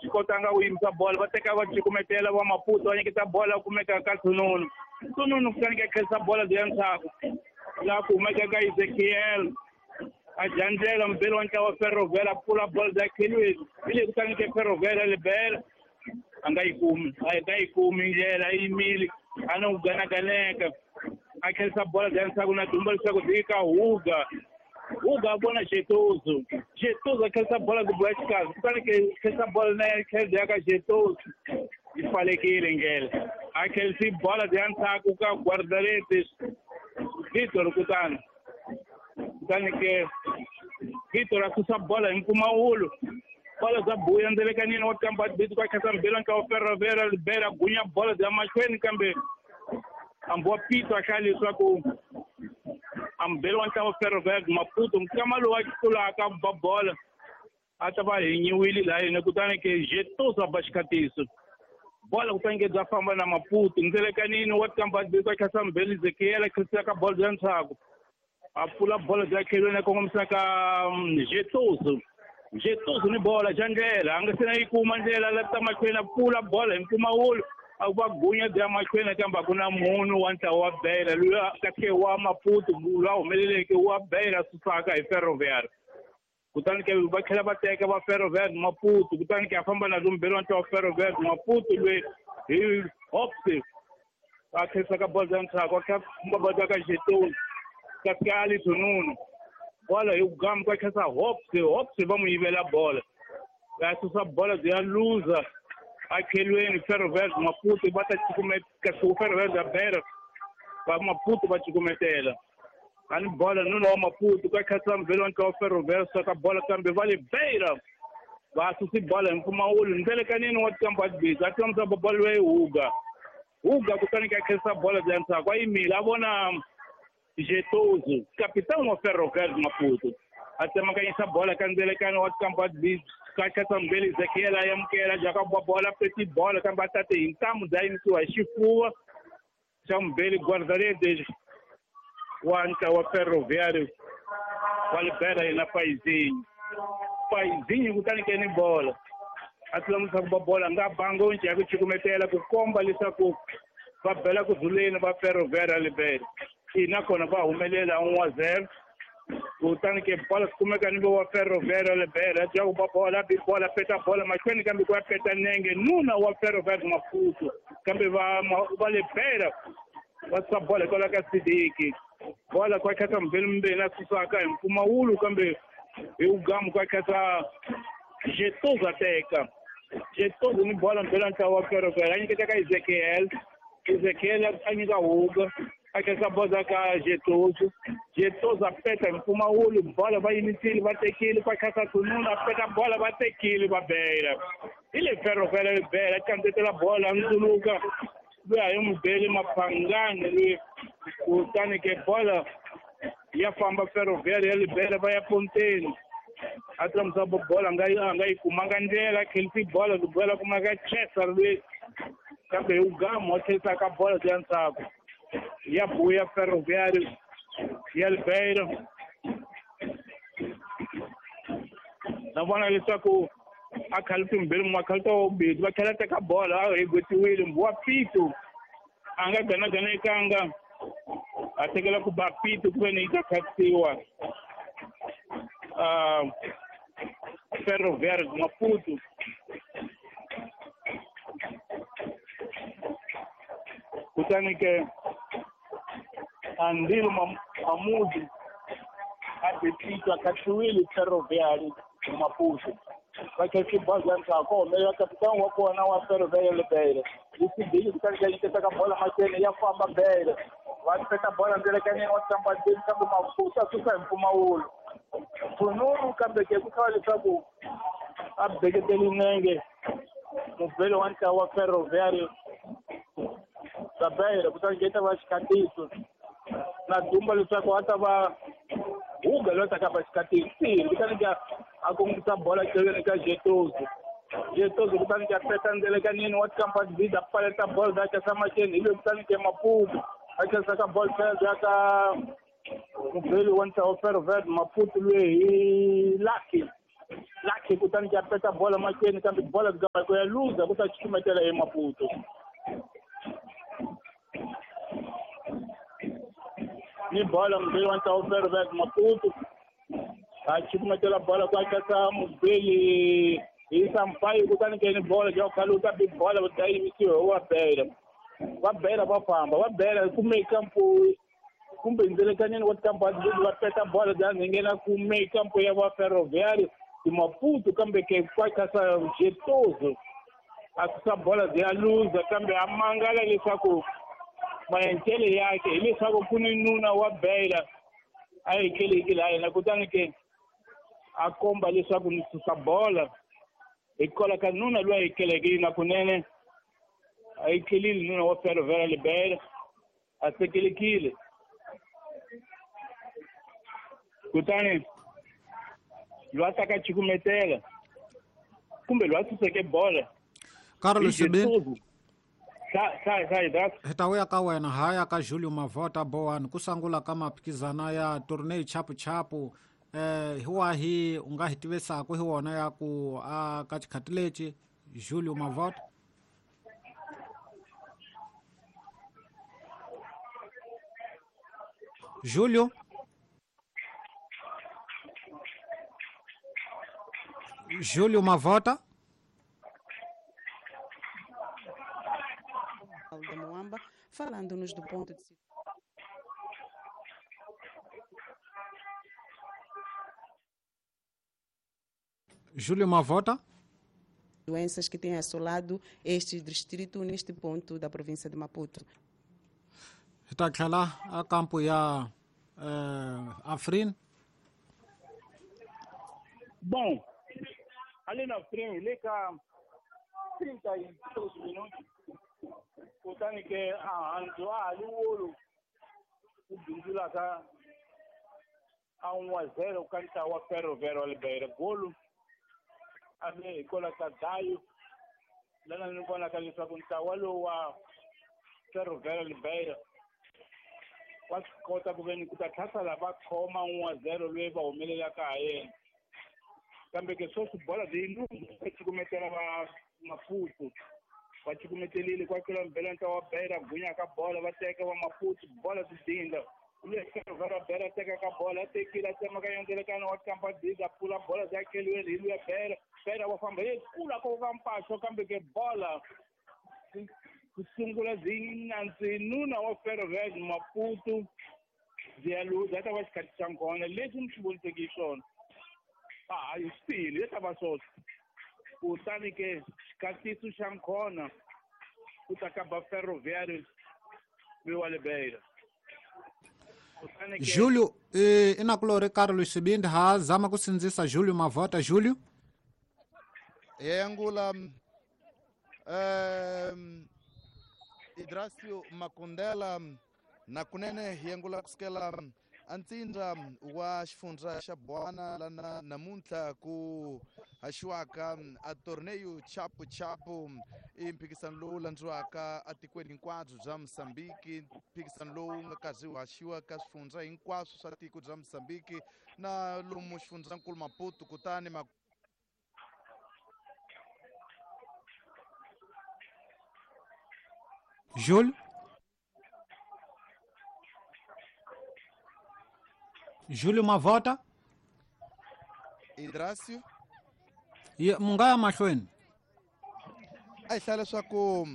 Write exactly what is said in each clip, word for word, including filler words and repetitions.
swi kotanga ku yimisa bola va teka va cukumetela va Maputo va nyiketa bola kumeka ka Thununu Thununu kutani ka khensa bola bya ndzhaku laha ku humeka ka Ezekiel a dya ndlela mubeli wa ntlawa Ferroviário a pfula bola bya khelweni hi leyi kutani ke Ferroviário Libera a nga yi kumi a nga yi kumi ndlela yi yimile a no ganaganeka a khensa bola bya ndzhaku na dumba leswaku byi ka Huga Huga a vona Jetozo Jetozo a khensa bola ku boya xikarhi kutani ke khensa bola na khensa ya ka Jetozo yi pfalekile ndlela a khensi bola bya ndzhaku ka guarda-redes Vitor kutani kutani ke Vitor a susa bola hi mpfumawulo bola bya buya ndzelekanini wa kamba bit kwa khensa mbila nka wa Ferroviário Libera gunya bola bya mahlweni kambe hambi wa Pito a hlaya leswaku ambele wa ntlawa Ferroviário Maputo nkama lowu a tlulaka ba bola a ta va hinyiwile laha yena kutani ke Jetozo a ba xikhatiso bola kutani ke bya famba na Maputo ndzelekanini wa kamba bit kwa khensa mbele Ezekiel a khensa ka bola bya ndzhaku a pfula bola bya khelweni a kongomisa ka Jetozo Jetozo ni bola xa ndlela a nga se na yi kuma ndlela la ta mahlweni a pfula bola hi mpfumawulo a va gunya bya mahlweni kambe a ku na munhu wa ntlawa wa Beira loyi kahle wa Maputo loyi a humeleleke wa Beira susaka hi Ferroviário kutani ke va tlhela va teka va Ferroviário Maputo kutani ke a famba na lombeli wa ntlawa wa Ferroviário Maputo loyi hi Hops a khensa ka bola bya ndzhaku a kha famba bola ka Jetozo kasi ka Ali Thununu bola hi gamu ka khensa Hops Hops va n'wi yivela bola va susa bola bya luza a khelweni Ferroviário Maputo va ta cukumeta kasi Ferroviário ya Beira va Maputo va cukumetela ani bola nuna wa Maputo ka khensa mbele wa ntlawa Ferroviário saka bola kambe va le Beira va susi bola hi mpfumawulo ndzelekanini wa kamba bizi a tlamisa bola loyi Huga Huga kutani ka khensa bola bya ndzhaku a yimile a vona Jetozo capitão wa Ferroviário Maputo a tsemakanyisa bola ka ndzelekano wa kamba bizi ka khensa mbele Ezekiel a amukela jaka bola peti bola kambe a tate hi ntamu bya yimisiwa hi xifuva xa mbele guarda-redes wa ntlawa wa Ferroviário wa Libera yena Paizinho Paizinho kutani ke ni bola a tlamisa ku ba bola a nga banga once ya ku cukumetela ku komba leswaku va bela ku dzuleni va Ferroviário Libera ina kona va humelela un wa zero kutani ke bola kumeka ni wa Ferroviário Libera ya ku ba bola bi bola peta bola mahlweni kambe ku ya peta nenge nuna wa Ferroviário Maputo kambe va va Libera va susa bola hikwalaho ka Sidiki bola kwa khensa mbele mbele a susaka hi mpfumawulo kambe hi ugamu kwa khensa Jetozo a teka Jetozo ni bola mbele ntlawa wa Ferroviário a nyiketa ka Ezekiel Ezekiel a nyika Huga a khensa bola ka Jetozo Jetozo a peta hi mpfumawulo bola va yimisile va tekile kwa khensa Thununu a peta bola va tekile va Beira hi le Ferroviário Libera a kandziyetela bola a ndzuluka loyi a yi n'wi beli Maphangani loyi kutani ke bola ya famba Ferroviário ya Libera va ya ponteni a tlamisa bola a nga a nga yi kumanga ndlela khensi bola bola kuma ka Chester loyi kambe hi ugamu wa tlherisa ka bola bya ndzhaku ya buya Ferroviário ya Libera na vona leswaku a khalisa mbirhi makhalisa wa vumbirhi va tlhela teka bola a hegwetiwile mbuwa Pito a nga ganaganekanga a tekela ku ba Pito ku ve ni yi ta khatisiwa Ferroviário Maputo kutani ke Andilo Mamudu a be Pito a khatisiwile Ferroviário Maputo va khensi bola bya ndzhaku humelela kapitani wa kona wa Ferroviário Libera yi Sidiki kutani ka nyiketa ka bola mahlweni ya famba Beira va peta bola ndzelekanini wa tamba ndzeni kambe Maputo a susa hi mpfumawulo Thununu kambe ke ku tlhela leswaku a beketeli nenge mubeli wa ntlawa wa Ferroviário da Beira kutani ke ta va xikhatiso na dumba leswaku a ta va Huga loyi a taka ba xikhatiso kutani ke a kongomisa bola tlhelweni ka Jetozo Jetozo kutani ke a peta ndzelekanini wa kamba bida pfaleta bola bya khensa mahlweni hi loyi kutani ke Maputo a khensa ka bola tlhela bya ka mubeli wa ntlawa Ferroviário Maputo loyi hi Lucky Lucky Kutani ka peta bola mahlweni kambe bola ku ya luza ku ta cukumetela eMaputo. Ni bola mubeli wa ntlawa Ferroviário Maputo a cukumetela bola ku akaka mubeli hi Sampaio kutani ke ni bola ya khaluta big bola va ta yimisiwa wa Beira. Va Beira va famba va Beira kume kampo kumbe ndzelekaneni wa tikampani leti va peta bola bya nghena kume kampo ya va Ferroviário de Maputo kambe ke kwakasa Jetozo a susa bola bya luza kambe a mangala leswaku maendlelo yakhe hileswaku ku ni nuna wa Beira a hekeleki laha yena kutani ke a komba leswaku ni susa bola hikwalaho ka nuna loyi a hekeleke na kunene a hekelile nuna wa Ferroviário le Beira a sekelekile kutani loyi a taka cukumetela kumbe loyi a suseke bola Carlos Sibini hi ta vuya ka wena haya ka Julio Mavota Bowan ku sungula ka maphikizana ya tourney chapu chapu eh hi wahi u nga hi tivisaka hi wona ya ku a ka xikhati lexi Julio Mavota? Julio Julio Mavota de Moamba, falando-nos do ponto de Júlio Mavota. Doenças que têm assolado este distrito neste ponto da província de Maputo. Está tlhela a campo ya eh, Afrin. Bom, ali na frente, le ka trinta e dois minutos. Kutani ke a handzo a li wolo ku bindzula ka a un a zero ka ntlawa wa Ferroviário le Beira golo a ve hikwalaho ka Dayo lana ni vonaka leswaku ntlawa lowu wa Ferroviário le Beira wa swi kota ku ve ni ku ta tlhasala va khoma un a zero loyi va humelelaka ha yena kambe ke sweswi bola leyi lundza cukumetela va Maputo va cukumetelile kwa kula mbele ntlawa wa Beira gunya ka bola va teka va Maputo bola ti dinda le Ferroviário Beira teka ka bola tekile tsema ka yondelekana wa kampa diza pula bola za keliweni hi luya Beira Beira wa famba ye kula ko ka mpaxo kambe ke bola ku sungula byi nantswi nuna wa Ferroviário Maputo byi ya luza ta va xikhathi xa nkona leswi ni swi voniseke hi swona a hi swi tihile ta va swona kutani ke xikatiso xa nkhona ku ta ka ba Ferroviário wa le Beira. Julio eh, inakulore Carlos Sibindi ha zama ku sindzisa Julio Mavota. Julio yengula um, Idrasio Makundela na kunene yengula kusukela antsindza wa xifundza xa Boana lana namuntlha ku haxiwaka a torneio chapu chapu i mphikisano lowu landziwaka atikweni hinkwabyo bya Mozambique, mphikisano lowu nga karhi wu haxiwa ka swifundza hinkwaswo swa tiko bya Mozambique na lomu xifundzankulu Maputo kutani ma Jules Júlio Mavota Idrasio ye mungaya mahlweni a hi hlaya leswaku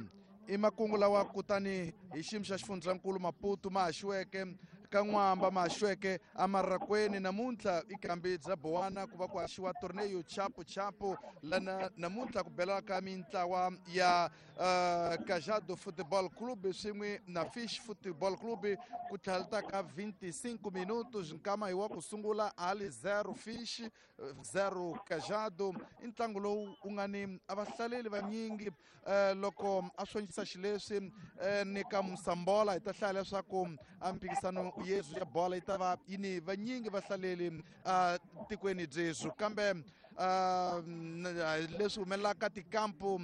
i makungu lawa kutani hi xiyimo xa xifundzankulu Maputo ma haxiweke ka N'wamba ma haxiweke amarakwenu namuntlha i kambi bya Boana ku va ku haxiwa torneio chapu chapu lana namuntlha ku belaka mintlawa ya uh, Cajado Football Club swin'we na Fish Football Club ku tlhela ka vinte e cinco minutos nkama hi wa ku sungula ali zero Fish zero Cajado i ntlangu lowu wu nga ni a vahlaleli vanyingi uh, loko a swonjisa xileswi uh, ni ka Musambola hi ta hlaya leswaku a mphikisano yesu ya bola yi ta va yi ni vanyingi vahlaleli a tikweni byesu kambe leswi humelelaka tikampu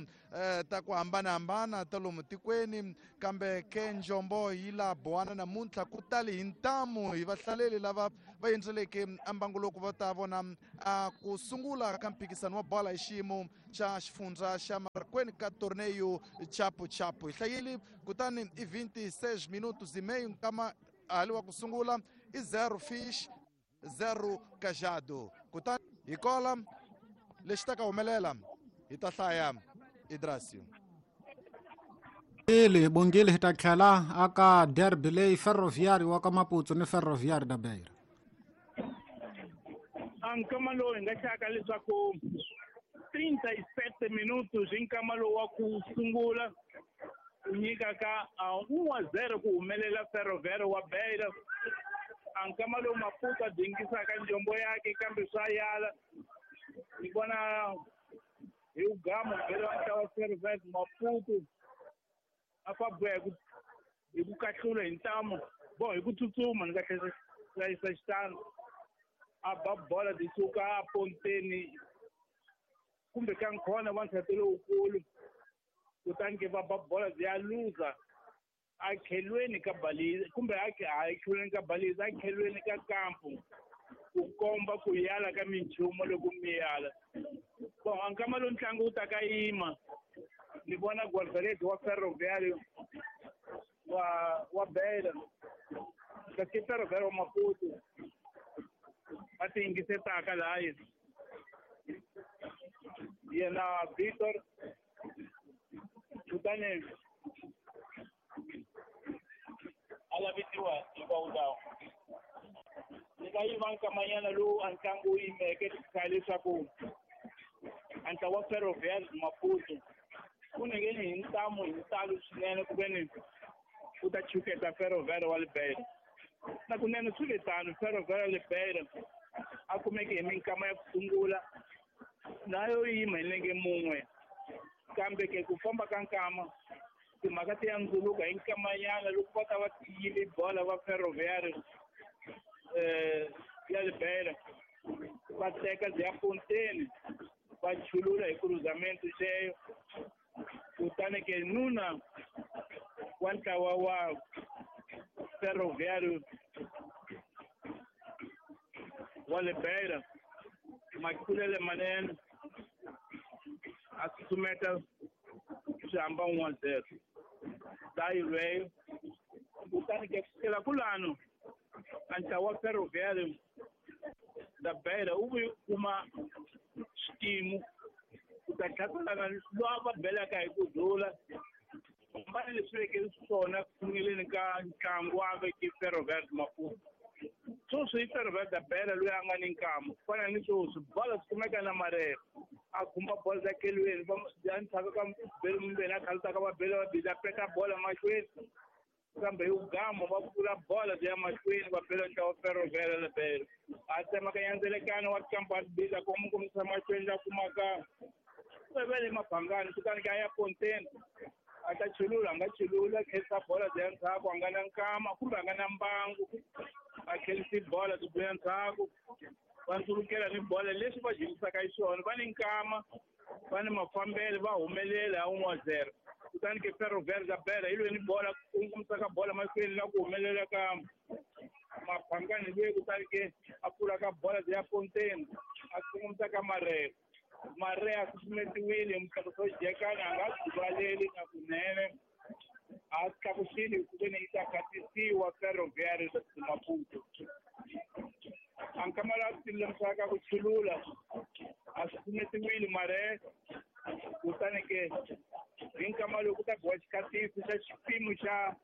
ta ku hambanahambana ta lomu tikweni kambe ke njombo yi la bowana namuntlha ku tali hi ntamu hi vahlaleli lava va endzeleke ambanguloko va ta vona a ku sungula ka mphikisano wa bola hi xiyimo xa xifundza xa Marracuene ka torneio chapu chapu hi hlayile kutani i vinte e seis minutos e meio nkama hali wa ku sungula i zero Fish zero Cajado kutani hi kola lexi ta ka humelela hi ta hlaya Idrasio. Ili bongile hi ta tlhela aka derby leyi Ferroviário wa ka Maputo ni Ferroviário da Beira. A nkama lowu hi nga hlaka leswaku trinta e sete minutos hi nkama lowu wa ku sungula ku nyika ka un a zero ku humelela Ferroviário wa Beira. A nkama lowu Maputo a dingisaka njombo yake kambe swa yala ni vona hi ugama vhele wa ntlawa Ferroviário Maputo a fa boha hi ku hi ku kahlula hi ntamu bo hi ku tsutsuma ni nga hlayisa xitano a ba bola ti suka a ponteni kumbe ka nkhona wa nsati lowukulu kutani ke va ba bola byi ya luza a khelweni ka baliza kumbe a khelweni ka baliza a khelweni ka kampu ku komba ku yala ka minchumu loko mi yala bon a nkama lowu ntlangu wu ta ka yima ni vona guarda-redes wa Ferroviário wa wa Beira kasi Ferroviário wa Maputo va ti yingisetaka laha yena Victor kutani a lavitiwa hi vawulawo ni nga yiva nkamanyana lowu a ntlangu wu yimeke kha leswaku a ntlawa wa Ferroviário Maputo ku nengeni hi ntamu hi ntalo swinene ku veni u ta chuketa Ferroviário wa Beira na kunene swi ve tano Ferroviário wa Beira a kumeke hi minkama ya ku sungula na yo yima hi nenge mun'we kambe ke ku famba ka nkama timhaka ti ya ndzuluka hi nkamanyana loko va ta va tiyile bola va Ferroviário eh ya Beira va teka byi ya ponteni va chulula hi cruzamento xeyo kutani ke nuna wa ntlawa wa Ferroviário wa le Beira makulele manene a susumeta swi hamba un a zero dayi lweyo kutani ke kusukela kulano a ntlawa wa Ferroviário da Beira wu vuye kuma xitimu ku ta tlhatlhelana lowa va belaka hi ku dlula hambana leswi veke swona ku sunguleni ka ntlangu wa veke Ferroviário Maputo sweswi i Ferroviário da Beira loyi a nga ni nkama ku fana ni sweswi bola swi kumeka na marere a khumba bola ta kelweni ya ndzhaku ka bele mumbeni a khalutaka va bele va biza peta bola mahlweni kambe hi ugama va pfula bola byi ya mahlweni va bela ntlawa Ferroviário da Beira a tsemaka nandzelekano wa kampa a biza komisa mahlweni la kumaka vele mabangani kutani ke a ya ponteni a ta chulula a nga chulula a khelisa bola byi ya ndzhaku a nga na nkama kumbe a nga na mbangu a khelisi bola byi vuya ndzhaku va ndzulukela ni bola leswi va jikisaka xiswona va ni nkama va ni mafambelo va humelela ha un a zero kutani ke Ferroviário da Beira yi lwe ni bola kungumisaka bola mahlweni la ku humelela ka mabangani luye kutani ke a pfula ka bola byi ya ponteni a kungumisa ka marere mare a susumetiwile hi mutlakuso jekani a nga duvaleli na kunene a tlakusile ku veni yi ta khatisiwa Ferroviário Maputo a nkama la tilemisaka ku chulula a susumetiwile mare kutani ke hi nkama lowu ku ta biwa xikhatiso xa xipimo xa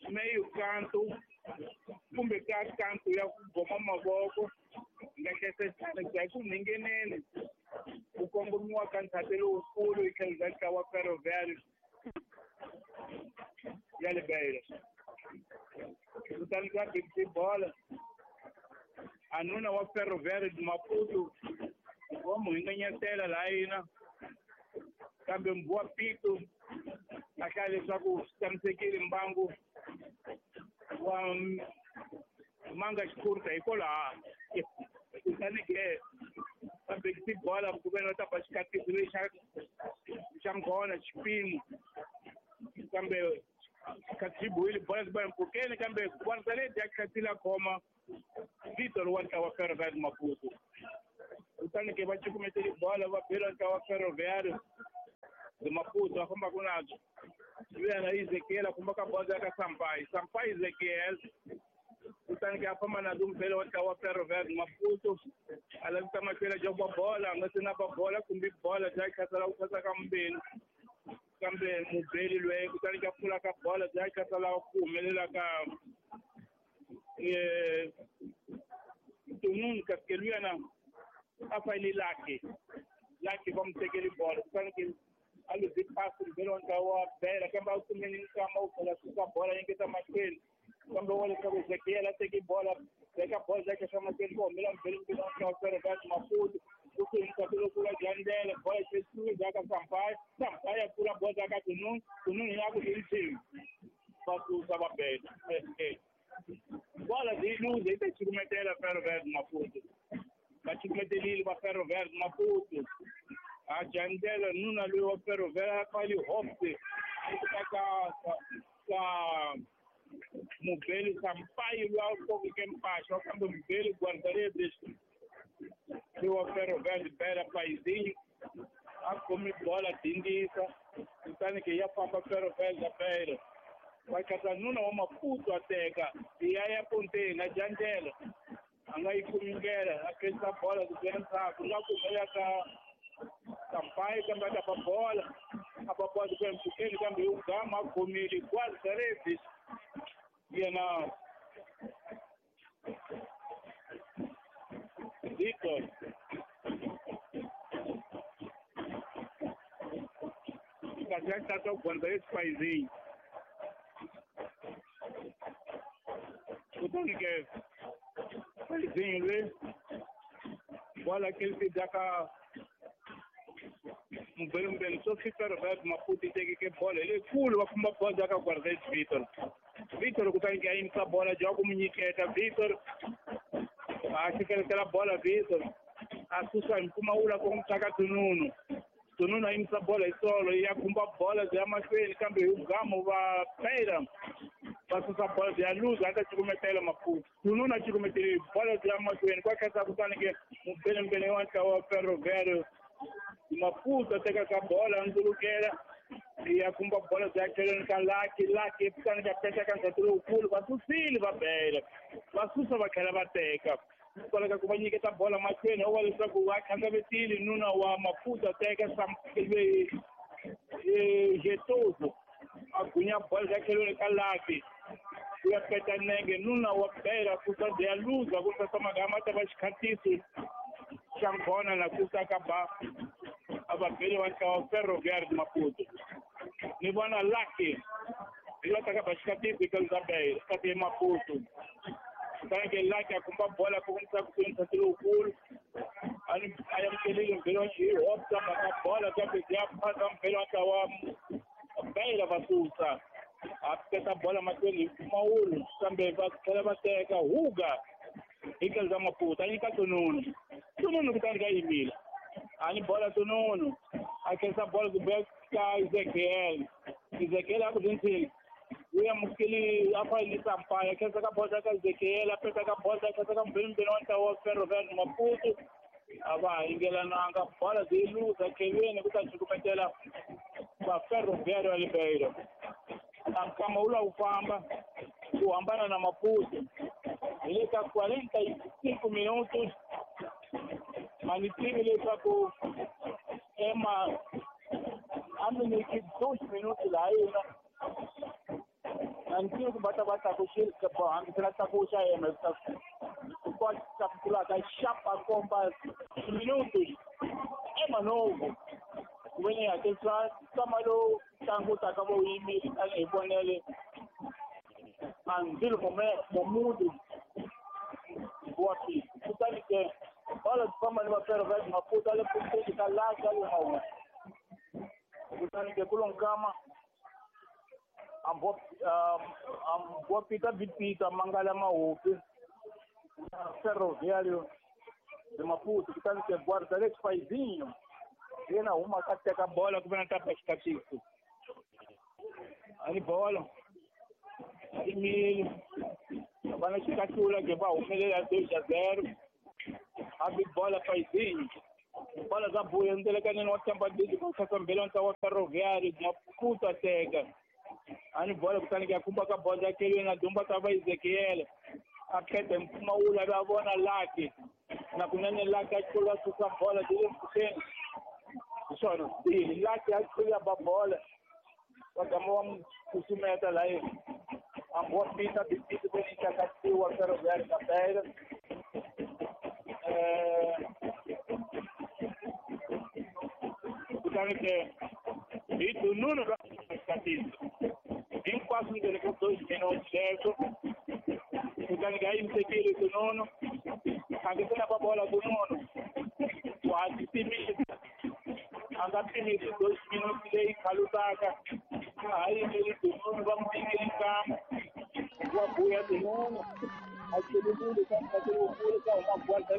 meyo kantu kumbe ka kantu ya ku goma mavoko nga hlesesana ku ya ku nhingeneni ku kongomiwa ka ndzhati lowukulu hi tlhelo bya ntlawa Ferroviário ya le Beira kutani ka big bola a nuna wa Ferroviário de Maputo wa mu hinganyetela laha yina kambe mbuwa pito a hlaya leswaku swi tshamisekile mbangu wa manga xikhurta hikwalaho kutani ke Va bekisi bola ku ve va ta ba xikatisi lexi xa xa nghona xipimo kambe xikati xi bohile bola xi ba mpfhukeni kambe guardarede ya khatile a khoma Vitor wa ntlawa Ferroviário Maputo. Kutani ke va cukumetele bola va bela ntlawa Ferroviário de Maputo va fambaka nazo. Yena Ezekiel a famba ka bola ya ka Sampaio. Sampaio Ezekiel kutani ke a famba nazo mbele wa ntlawa Ferroviário Maputo a lavisa mahlweni a ba bola a nga se na ba bola kumbe bola bya khasela ku khasa ka mbeni kambe mubeli loyi kutani ke a pfula ka bola bya khasela ku humelela ka eh Tunun kasi luyana a fayile lake lake va mu tekeli bola kutani ke a luze pasi mbele wa ntlawa wa Bela kambe a wu kumeni nkama wu tlhela suka bola nyiketa mahlweni kambe wa leswaku Ezekiel a teki bola veka bola yakhe xa mahlweni ku humela mbele mbele wa ntlawa Ferroviário Maputo kusuhi mukapelo kula Jandela bola xesuhi ka Sampaio Sampaio a pfula bola ka Tunun Tunun ya ku i va susa va Bela bola yi luze yi ta cukumetela Ferroviário Maputo va cukumetelile va Ferroviário Maputo a Jandela nuna loyi wa Ferroviário a fali Hopes ka ka ka mubeli Sampaio loyi a kokeke mpaxwa kambe mubeli guarda-redes loyi wa Ferroviário Bela Paizinho a khomi bola dindisa kutani ke ya famba Ferroviário da Beira va katsa nuna wa Maputo a teka ya ya ponteni a Jandela a nga yi kumi ndlela a khensa bola ku nghena ndzhaku nga kumela ka Sampaio kambe a ta ba bola a ba bola ku mpfhukeni kambe hi gama a khomile guarda-redes yena Victor kasi ya tata guarda-redes Paizinho kutani ke Paizinho loyi bola ke li ka mubeli so Ferroviário Maputo yi tekeke bola hi leyikulu va famba bola ka guarda-redes Victor Victor kutani ke a yimisa bola bya ku mu nyiketa Victor a xikeletela bola Victor a susa hi mpfumawulo ku n'wi ka Tununu Tununu a yimisa bola hi solo ya khumba bola bya mahlweni kambe hi gamo va Beira va susa bola bya luza a ta cukumetela Maputo Tununu a cukumetele bola bya mahlweni kwa khatsa kutani ke mubelembele wa ntlawa wa Ferroviário Maputo a teka ka bola a ndzulukela ya khumba bola bya tlhelweni ka Lucky Lucky kutani ka peta ka ndzhaku lowukulu va susile va Bela va susa va tlhela va teka kwala ka ku va nyiketa bola mahlweni wa leswaku va khangavetile nuna wa Maputo a teka loyi Getoso a gunya bola bya tlhelweni ka Lucky ku ya peta nenge nuna wa Bela susa bya luza ku sasa magama ta va xikhatiso xa nghona na ku ka ba a va bele wa ntlawa Ferroviário de Maputo ni vona Lucky hi va taka ba xikatisi ka luza Beira kasi Maputo kutani ke Lucky a kumba bola ku n'wi ku ntsati lowukulu a ni a amukelile mbele wa hi Hopes a baka bola kambe ya phasa mbele wa ntlawa Beira va susa a peta bola mahlweni hi mpfumawulo kambe va tlhela va teka Huga hi tlhelo ra Maputo a nyika Tununu Tununu kutani ka yimile a ni bola Tununu a khensa bola ku beka ka Ezekiel Ezekiel a ku ntshini u amukeli a fayile Sampaio a khensa ka bola ka Ezekiel a peta ka bola a khensa ka mbele wa ntlawa wa Ferroviário Maputo a va yingelananga bola byi luza tlhelweni ku ta cukumetela va Ferroviário ya Ribeiro a nkama wu lava ku famba ku hambana na Maputo hi le ka quarenta e cinco minutos a ni tivi leswaku ema a mi nyiki dos minutos laha yena a ni tivi ku va ta va tlakuxile hambisela tlakuxa yena kwa tlakukulaka xapa komba minutos ema novo ku ve ni hakelisa nkama lowu ntlangu wu taka va wu yimile tanihi vonele Anzilo Momudu wa fika kutani ke bola famba ni va Ferroviário Maputo a le pfuxeni ka Lucky a le mawu kutani ke ku lo nkama ambopita bipita mangala mahupi na Ferroviário De Maputo kutani ke guarda-redes Paizinho yena huma ka teka bola ku ve na tapa xikatiso a ni bolo a yimile va na xikahlula ke va humelela dois a zero a bi bola Paizinho bola za buya ndelekaneni wa Tampa Bay ku khasambela ntlawa wa Ferroviário Maputo a teka a ni bola kutani ke ya khumba ka bola kelweni a dumba ta va Ezekiel a pheta mpfumawulo a va vona Lucky na kunene Lucky a tlula susa bola byi le mpfhukeni hi swona swi Lucky a tlula ba bola va gama va n'wi susumeta laha hambi wa fita bipiti ve ni tlakasiwa Ferroviário ka bela kutani ke hi Dununu ra xikatiso hinkwaswo ndzeni ka dois minutos sweswo kutani ke a yimisekile Dununu a nge se na va bola Dununu wa ha titimisa a nga pimisi dois minutos leyi khalutaka a ha yimeli Dununu va n'wi nyikile nkama wa buya Dununu a tlululile ka ka huma guarda